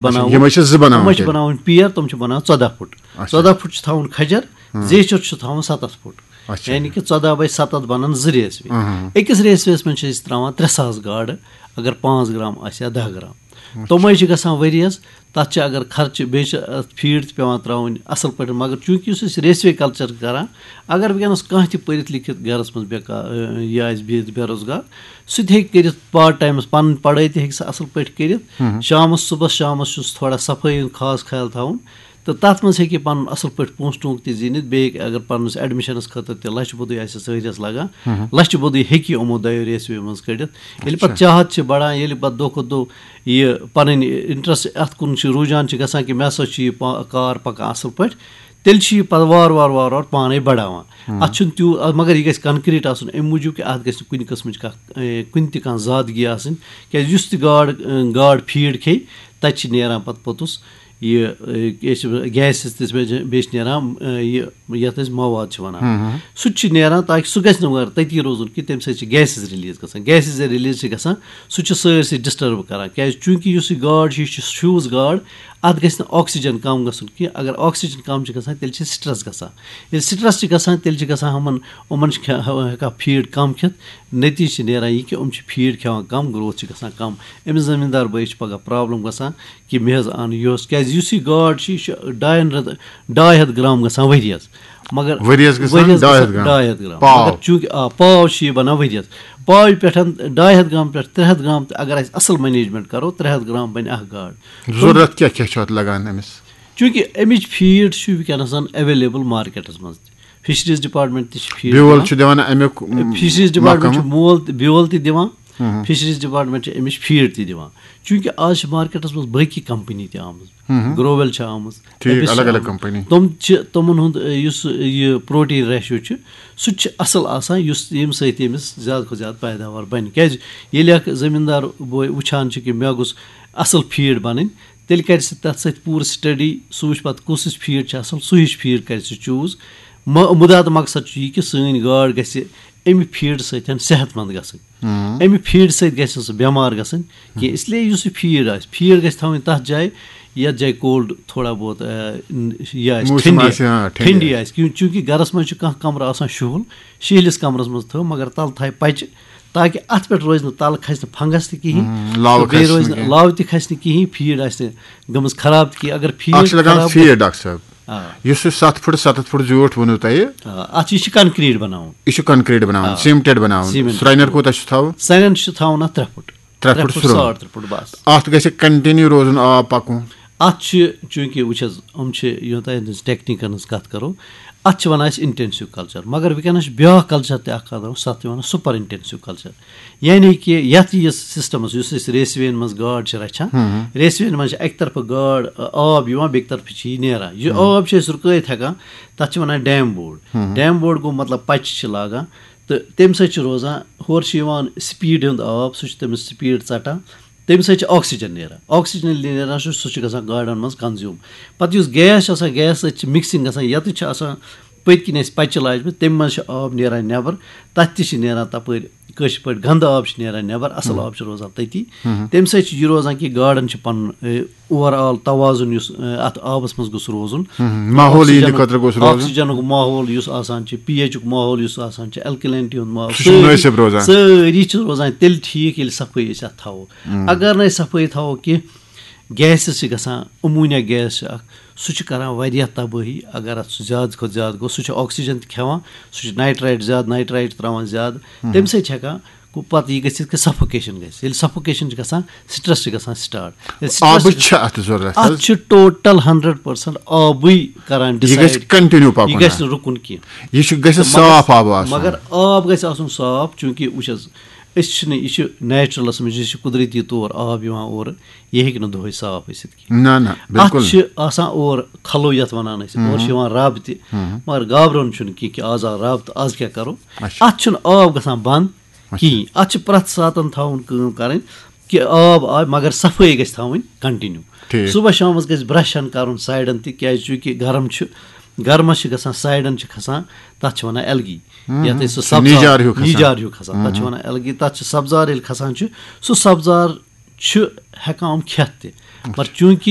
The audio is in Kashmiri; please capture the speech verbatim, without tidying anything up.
بناوُن۔ یِمے چھِ زٕ بناوان یِمے چھِ تیٚلہِ؟ بناوٕنۍ پیر، تِم چھِ بناوان ژۄداہ فُٹ۔ اچھا۔ ژۄداہ فُٹ چھِ تھاوُن کھجر، ہاں۔ زیچھر چھُ تھاوُن ستتھ فُٹ۔ اچھا۔ یعنی کہِ ژۄداہ باے ستتھ بنن زٕ ریسوے۔ ہاں۔ أکِس ریسویس منٛز چھِ أسۍ تراوان ترٛےٚ ساس گاڈٕ، اگر پانٛژھ گرام آسہِ یا دَہ گرام۔ تِمے چھِ گژھان ؤریَس، تَتھ چھِ اگر خرچہٕ، بیٚیہِ چھِ اَتھ فیٖڈ تہِ پٮ۪وان ترٛاوٕنۍ اَصٕل پٲٹھۍ، مگر چوٗنٛکہِ یُس أسۍ ریسوے کلچر کران، اگر وٕنکیٚنَس کانٛہہ تہِ پٔرِتھ لیکھِتھ گرَس منٛز بے کا-، یہِ آسہِ بِہِتھ بے روزگار، سُہ تہِ ہیٚکہِ کٔرِتھ، پارٹ ٹایمَس پَنٕنۍ پَڑٲے تہِ ہیٚکہِ سُہ اَصٕل پٲٹھۍ کٔرِتھ۔ شامَس، صُبحَس شامَس چھُس تھوڑا صفٲیی ہُنٛد خاص خیال تھاوُن، تہٕ تَتھ منٛز ہیٚکہِ یہِ پَنُن اَصٕل پٲٹھۍ پونٛسہٕ ٹونٛک تہِ زیٖنِتھ۔ بیٚیہِ ہیٚکہِ، اگر پَنُن ایڈمِشنَس خٲطرٕ تہِ لَچھِ بوٚدُے آسہِ ؤریَس لَگان، لَچھِ بوٚدُے ہیٚکہِ یہِ یِمو دۄیو ریسویو منٛز کٔڑِتھ۔ ییٚلہِ پَتہٕ چاہت چھِ بَڑان، ییٚلہِ پَتہٕ دۄہ کھۄتہٕ دۄہ یہِ پَنٕنۍ اِنٹرسٹ اَتھ کُن چھِ، رُجحان چھِ گژھان کہِ مےٚ ہسا چھُ یہِ پا-، کار پَکان اَصٕل پٲٹھۍ، تیٚلہِ چھِ یہِ پَتہٕ وارٕ وارٕ وارٕ وارٕ پانَے بَڑاوان۔ اَتھ چھُنہٕ تیوٗت، اَتھ، مگر یہِ گژھِ کَنکریٖٹ آسُن، اَمہِ موٗجوٗب کہِ اَتھ گژھِ نہٕ کُنہِ قٕسمٕچ کانٛہہ، اے، کُنہِ تہِ کانٛہہ زادگی آسٕنۍ، کیٛازِ یُس تہِ گاڈ، اے، گاڈ فیٖڈ کھیٚیہِ، تَتہِ چھِ نیران پَتہٕ پوٚتُس یہِ، اے، کیٛاہ چھِ وَنان، گیسز تہِ چھِ، بیٚیہِ چھِ نیران، اے، یہِ، یَتھ أسۍ مواد چھِ وَنان۔ سُہ تہِ چھُ نیران تاکہِ سُہ گژھِ نہٕ مگر تٔتی روزُن کینٛہہ، تَمہِ سۭتۍ چھِ گیسز ریلیٖز گژھان۔ گیسز ییٚلہِ ریلیٖز چھِ گژھان، سُہ چھُ سٲرسٕے ڈِسٹرب کران، کیٛازِ؟ چوٗنٛکہِ یُس یہِ گاڈ چھِ، یہِ چھِ ہیوٗز گاڈ، اَتھ گژھِ نہٕ آکسیجن کَم گژھُن کینٛہہ۔ اگر آکسیجن کَم چھِ گژھان، تیٚلہِ چھِ سٹرٛس گژھان۔ ییٚلہِ سٹرٛس چھِ گژھان، تیٚلہِ چھِ گژھان یِمَن، یِمَن چھِ کھے-، ہٮ۪کان فیٖڈ کَم کھٮ۪تھ۔ نتیٖجہٕ چھِ نیران یہِ کہِ یِم چھِ فیٖڈ کھٮ۪وان کَم، گروتھ چھِ گژھان کَم۔ أمِس زٔمیٖندار بٲیِس چھِ پَگاہ پرابلم گژھان کہِ مےٚ حظ اَن یُہُس، کیٛازِ یُس یہِ گاڈ چھِ، یہِ چھِ ڈاین رٮ۪تہٕ، ڈاے ہَتھ گرام گژھان ؤریَس۔ مگر ؤریَس گژھان ؤریَس ڈاے ہَتھ گژھان گرام؟ ڈاے ہَتھ گرام۔ پاو؟ مگر چوٗنٛکہِ، آ، پاو چھِ یہِ بَنان ؤریَس۔ پاوِ پٮ۪ٹھ ڈاے ہَتھ گرام پٮ۪ٹھ ترٛےٚ ہَتھ گرام تہِ اگر اَسہِ اَصٕل مینیجمنٹ کَرو، ترٛےٚ ہَتھ گرام بَنہِ اَکھ گاڈ۔ ضروٗرت کیٛاہ کیٛاہ چھُ اَتھ لَگان أمِس؟ چوٗنٛکہِ اَمِچ فیٖڈ چھُ وٕنکیٚنَس ایویلیبل مارکیٹَس منٛز تہِ۔ فِشریٖز ڈپارٹمنٹ تہِ چھِ فیٖڈ بیول دِوان۔ چھُ دِوان اَمیُک، م، فِشریٖز ڈپارٹمنٹ چھُ محکمہٕ؟ مول تہِ، بیول تہِ دِوان۔ فِشریٖز ڈپارٹمنٹ چھِ اَمِچ فیٖڈ تہِ دِوان۔ چوٗنٛکہِ آز چھِ مارکیٹَس منٛز باقٕے کمپنی تہِ آمٕژ۔ گروویل چھِ آمٕژ، ٹھیٖک، ایپس چھِ الگ الگ آمٕژ۔ کمپنی۔ تِم چھِ، تِمَن ہُنٛد، یُس یہِ پروٹین ریشیو چھُ، سُہ تہِ چھُ اَصٕل آسان، یُس، ییٚمہِ سۭتۍ تٔمِس زیادٕ کھۄتہٕ زیادٕ پیداوار بَنہِ۔ کیٛازِ؟ ییٚلہِ اَکھ زٔمیٖندار بوے وٕچھان چھُ کہِ مےٚ گوٚژھ اَصٕل فیٖڈ بَنٕنۍ، تیٚلہِ کَرِ سُہ تَتھ سۭتۍ پوٗرٕ سٹڈی، سُہ وٕچھِ پَتہٕ کُس ہِش فیٖڈ چھِ اَصٕل، سُہ ہِش فیٖڈ کَرِ سُہ چوٗز۔ مُدا تہٕ مقصد چھُ یہِ کہِ سٲنۍ گاڈ گژھِ اَمہِ فیٖڈ سۭتۍ صحت مند گژھٕنۍ۔ اَمہِ فیٖڈ سۭتۍ گژھِ نہٕ سُہ بٮ۪مار گژھٕنۍ کینٛہہ۔ اس لیے یُس یہِ فیٖڈ آسہِ، فیٖڈ گژھِ تھاوٕنۍ تَتھ جایہِ، یَتھ جایہِ کولڈ تھوڑا بہت، آ، یہِ آسہِ، موسم ٹھنڈی، آسہِ، ہاں، ٹھنڈی ٹھنڈی آسہِ۔ آسہِ۔ کیوں-، چوٗنٛکہِ گَرَس منٛز چھُ کانٛہہ کَمرٕ آسان شُہُل، شِہلِس کَمرَس منٛز تھٲو، مگر تَلہٕ تھایہِ پَچہِ، تاکہِ اَتھ پٮ۪ٹھ روزِ نہٕ، تَلہٕ کھسہِ نہٕ فنگس تہِ کِہیٖنۍ، ہُم، لاوٕ تہٕ بیٚیہِ کھسہِ روزِ نہٕ نہٕ، کِہیٖنۍ۔ لاوٕ تہِ کھسہِ نہٕ کِہیٖنۍ، فیٖڈ آسہِ نہٕ گٔمٕژ خراب تہِ کِہیٖنۍ۔ اگر فیٖڈ اَکھ چھِ لَگان خراب فیٖڈ، ڈاکٹر صٲب۔ آ۔ یُس یہِ ستھ فُٹ ستتھ فُٹ زیوٗٹھ ووٚنوٕ تۄہہِ، آ، اَتھ چھِ، یہِ چھِ کنکریٖٹ بناوُن۔ یہِ چھُ کنکریٖٹ بناوُن، آ۔ سیمٹڈ بناوُن۔ سیمنٹ۔ سرٛنٮ۪ر کوٗتاہ چھُ تھاوُن؟ سرٛنٮ۪ر چھُ تھاوُن اَتھ ترٛےٚ فُٹ۔ ترٛےٚ فُٹ سرٛوٚن۔ ساڑ ترٛےٚ فُٹ بس۔ اَتھ گژھِ کنٹِنیو روزُن آب پَکُن۔ اَتھ چھِ، چوٗنٛکہِ وٕچھ حظ، یِم چھِ، یوٗتاہ أسۍ ٹیکنیٖکَن ہٕنٛز کَتھ کَرو، اَتھ چھِ وَنان أسۍ اِنٹینسِو کَلچَر، مگر وٕنکیٚنَس چھُ بیٛاکھ کَلچَر تہِ اَکھ کَرو، سَتھ چھِ وَنان سُپَر اِنٹینسِو کَلچَر۔ یعنی کہِ یَتھ یہِ سِسٹَمَس، یُس أسۍ ریسویَن منٛز گاڈ چھِ رَچھان، ریسویَن منٛز چھِ اَکہِ طرفہٕ گاڈ، آ، آب یِوان، بیٚکہِ طرفہٕ چھِ یہِ نیران۔ یہِ آب چھِ أسۍ رُکٲیِتھ ہٮ۪کان، تَتھ چھِ وَنان ڈیم بوڈ۔ ڈیم بوڈ گوٚو مطلب پَچہِ چھِ لاگان، تہٕ تَمہِ سۭتۍ چھِ روزان، ہورٕ چھِ یِوان سپیٖڈ ہُنٛد آب، سُہ چھُ تٔمِس سپیٖڈ ژَٹان، تَمہِ سۭتۍ چھُ آکسیجن نیران۔ آکسیجن ییٚلہِ نیران چھُ، سُہ چھُ گژھان گاڈَن منٛز کنزیوٗم۔ پَتہٕ یُس گیس چھُ آسان، گیس سۭتۍ چھِ مِکسِنٛگ گژھان، یَتَتھ چھِ آسان پٔتۍ کِنۍ اَسہِ پَچہِ لاجمٕژ، تَمہِ منٛز چھِ آب نیران نٮ۪بَر، تَتھ تہِ چھِ نیران تَپٲرۍ کٲشِر پٲٹھۍ گنٛدٕ آب چھِ نیران نٮ۪بَر، اَصٕل آب چھُ روزان تٔتی۔ تَمہِ سۭتۍ چھِ یہِ روزان کہِ گاڈَن چھِ پَنُن، اے، اوور آل توازُن یُس، اے، اَتھ آبَس منٛز گوٚژھ روزُن۔ ماحول یِہِنٛدِ آکسیجنُک، خٲطرٕ گوٚژھ روزُن۔ آکسیجنُک ماحول یُس آسان چھُ، پی ایچُک ماحول یُس آسان چھُ، الکلینٹی ہُنٛد ماحول، سُہ چھُ سٲری، مُنٲسِب روزان۔ سٲری چھِ روزان تیٚلہِ ٹھیٖک، ییٚلہِ صفٲیی أسۍ اَتھ تھاوو۔ اگر نہٕ أسۍ صفٲیی تھاوو کینٛہہ، گیسز چھِ گژھان، امونیا گیس چھِ اَکھ، سُہ چھُ کران واریاہ تبٲہی۔ اگر اَتھ سُہ زیادٕ کھۄتہٕ زیادٕ گوٚو، سُہ چھُ آکسیجن تہِ کھٮ۪وان، سُہ چھُ نائٹرائٹ زیادٕ، نائٹرائٹ ترٛاوان زیادٕ، تَمہِ سۭتۍ چھِ ہٮ۪کان گوٚو پَتہٕ یہِ گٔژھِتھ کہِ سفوکیشن گژھِ۔ ییٚلہِ سفوکیشن چھِ گژھان، سٹرٛس چھِ گژھان سٹارٹ۔ ییٚلہِ سٹرٛس آبٕچ چھِ چھِ اَتھ ضروٗرت اَتھ حظ۔ چھِ ٹوٹل ہنڈریڈ پٔرسنٹ آبٕے کران یہِ گژھِ ڈِسایڈ۔ کنٹِنیو یہِ پَکُن گژھِ حظ۔ نہٕ رُکُن کینٛہہ۔ یہِ چھُ، گژھِ مگر صاف آب آسُن۔ مگر آب گژھِ آسُن صاف، چوٗنٛکہِ وٕچھ حظ، أسۍ چھِنہٕ، یہِ چھُ نیچرلس منٛز، یہِ چھُ قدرتی طور آب یِوان اورٕ، یہِ ہیٚکہِ نہٕ دۄہے صاف ٲسِتھ کینٛہہ۔ نہ، نہ، بِلکُل۔ اَتھ چھِ آسان اورٕ کھلو یَتھ وَنان أسۍ، اورٕ چھِ یِوان رب تہِ، مگر گابرُن چھُنہٕ کینٛہہ کہِ آز آو رب تہٕ آز کیٛاہ کَرو؟ اَتھ چھُنہٕ آب گژھان بنٛد کِہیٖنۍ۔ اَتھ چھِ پرٛٮ۪تھ ساتَن تھاوُن کٲم کَرٕنۍ کہِ آب آے، مگر صفٲیی گژھِ تھاوٕنۍ کنٹِنیو۔ ٹھیٖک۔ صُبحَس شامَس گژھِ برٛش ہن کَرُن سایڈَن تہِ، کیٛازِ چوٗنٛکہِ گرم چھُ، گرمَس چھِ گژھان سایڈَن چھِ کھسان، تَتھ چھِ وَنان ایلگی۔ یَتھ أسۍ سُہ سُہ نیٖجار ہیوٗ سبزار، کھسان۔ نیٖجار ہیوٗ کھسان، تَتھ چھِ وَنان ایلگی۔ تَتھ چھِ سبزار ییٚلہِ کھسان چھُ، سُہ سبزار چھُ ہٮ۪کان یِم کھٮ۪تھ تہِ۔ مگر چوٗنٛکہِ